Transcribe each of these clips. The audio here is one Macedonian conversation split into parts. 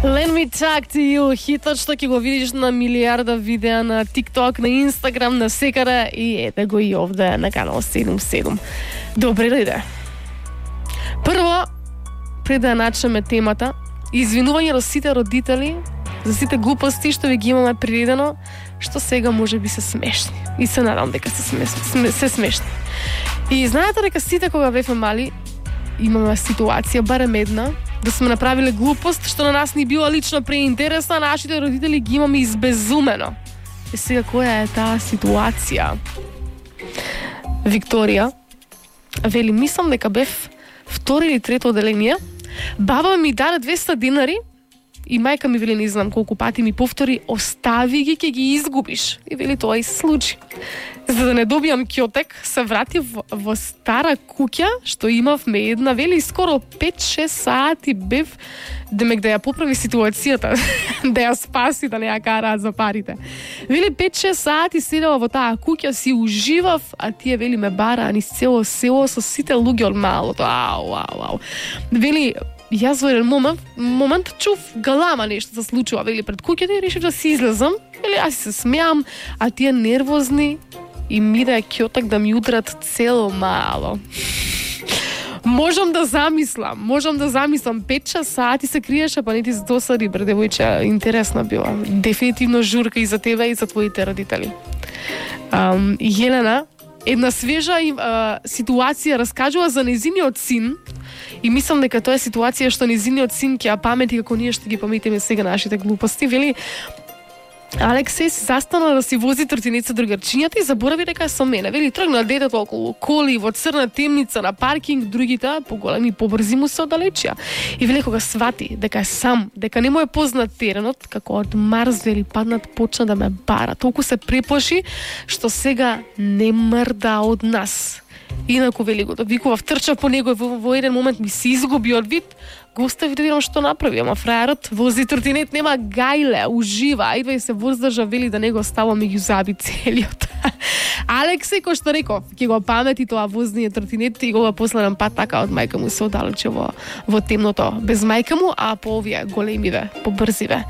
Let me talk to you, хитот што ќе го видиш на милиарда видеа на TikTok, на Instagram, на секаде и ете го и овде на канал 77. Добре дојде. Прво, пред да начнеме темата, извинување до сите родители за сите глупости што ви ги имаме приредено, што сега може би се смешни. И се надам дека се смешни. И знаете дека сите кога бевме мали, имаме ситуација, барем една, да сме направиле глупост што на нас ни била лично преинтересна, нашите родители ги имаме избезумено. И сега која е таа ситуација? Викторија вели, мислам дека бев втори или трето оделение, баба ми даде 200 динари и мајка ми вели, не знам колку пати ми повтори, остави ги, ќе ги изгубиш. И вели, тоа и се случи. За да не добијам ќотек, се вратив во стара куќа, што имавме една, вели, скоро 5-6 сати бев, демек да ја поправи ситуацијата, да ја спаси, да не ја караат за парите. Вели, 5-6 сати седела во таа куќа, си уживав, а тие, вели, ме бараа низ цело село со сите луѓе од малото. Ау. Вели, јас во еден момент чув галама нешто се случува, вели, пред куќата и решив да си излезам. Вели, аз се смеам, а тие нервозни и ми да ќотак да ми удрат цело мало. Можам да замислам, 5-6 сати се криеше, па не ти се досади, бре, девојче, интересна била. Дефинитивно журка и за тебе и за твоите родители. Јелена, една свежа ситуација раскажува за нејзиниот син, и мислам дека тоа е ситуација што нејзиниот син ќе ја памети како ние што ги паметиме сега нашите глупости. Вели, Алексеј се застана да си вози тротинет со другарчињата и заборави дека е со мене. Вели, тргна детето околу коли во црна темница на паркинг, другите поголеми побрзи му се оддалечија. И вели, кога свати дека е сам, дека не му е познат теренот, како од Марс, вели, паднат, почна да ме бара. Толку се преплаши што сега не мрда од нас. Инаку, вели, го викував, трчав по него и во еден момент ми се изгуби од вид, го остави да видам што направи, ама фраерот вози тротинет, нема гајле, ужива, ајдва и се воздржа, вели, да не го ставам и ги заби целиот. Алексеј, кој што реков, ќе го памети тоа возниот тротинет и го последен пат така од мајка му се оддалече во темното, без мајка му, а по овие големиве, по брзиве.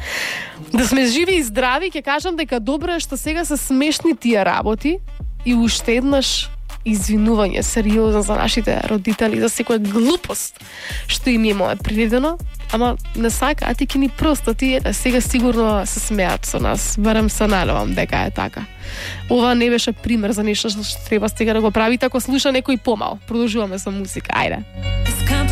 Да сме живи и здрави, ќе кажам дека добро е што сега се смешни тие работи и уште еднаш извинување сериозно за нашите родители за секоја глупост што им имаме приредено, ама не сака, а ти ки ни прости, сега сигурно се смеат со нас, барем се надевам дека е така. Ова не беше пример за нешто што треба сега да го правите ако слуша некој помал. Продолжуваме со музика, ајде.